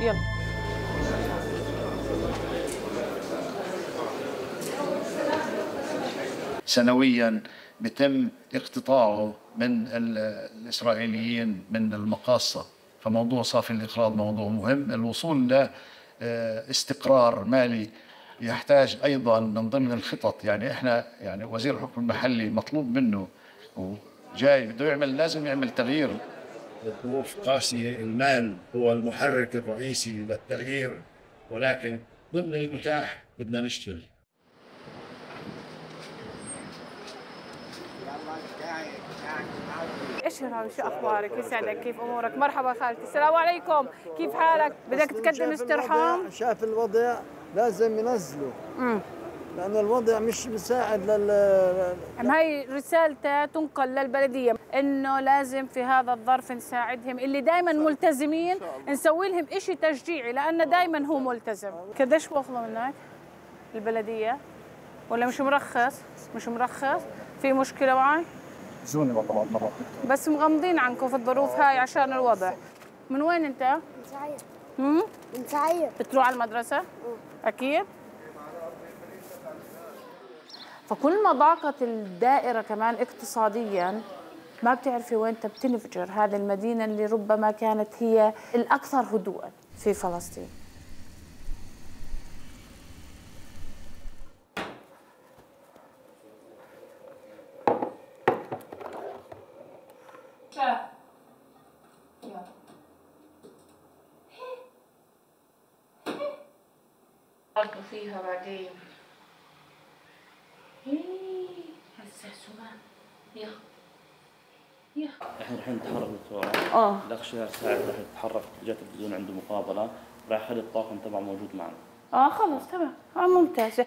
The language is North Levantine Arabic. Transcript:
يلا. سنويا بيتم اقتطاعه من الإسرائيليين من المقاصة، فموضوع صافي الإقراض موضوع مهم. الوصول لاستقرار مالي يحتاج أيضا من ضمن الخطط. يعني إحنا يعني وزير الحكم المحلي مطلوب منه وجاي بده يعمل، لازم يعمل تغيير. الظروف قاسية، المال هو المحرك الرئيسي للتغيير، ولكن ضمن المتاح بدنا نشتغل. ايش هاي، شو اخبارك؟ يسعدك، كيف امورك؟ مرحبا خالتي، السلام عليكم، كيف حالك؟ بدك تقدم استرحام؟ شاف الوضع لازم ينزلوا، لأن الوضع مش مساعد هاي رسالته تنقل للبلدية إنه لازم في هذا الظرف نساعدهم، اللي دائما ملتزمين نسوي لهم إشي تشجيعي، لأنه دائما هو ملتزم. قديش وصلوا منك البلدية؟ ولا مش مرخص؟ مش مرخص؟ في مشكلة معي؟ زوني والله مرة. بس مغمضين عنكم في الظروف هاي عشان الوضع. من وين أنت؟ من سعير. من سعير. بتروح على المدرسة؟ أكيد؟ فكل ما ضاقت الدائرة كمان اقتصادياً ما بتعرفي وين بتنفجر هذه المدينة اللي ربما كانت هي الأكثر هدوءاً في فلسطين. أركض فيها بعدين. هسه سمان. يا احنا رايحين نتحرك دكتورة. الاخ شهر ساعد راح يتحرك اتجاه التلفزيون، عنده مقابلة، راح يخلي الطاقم تبعه موجود معنا. خلص تمام. ممتازة.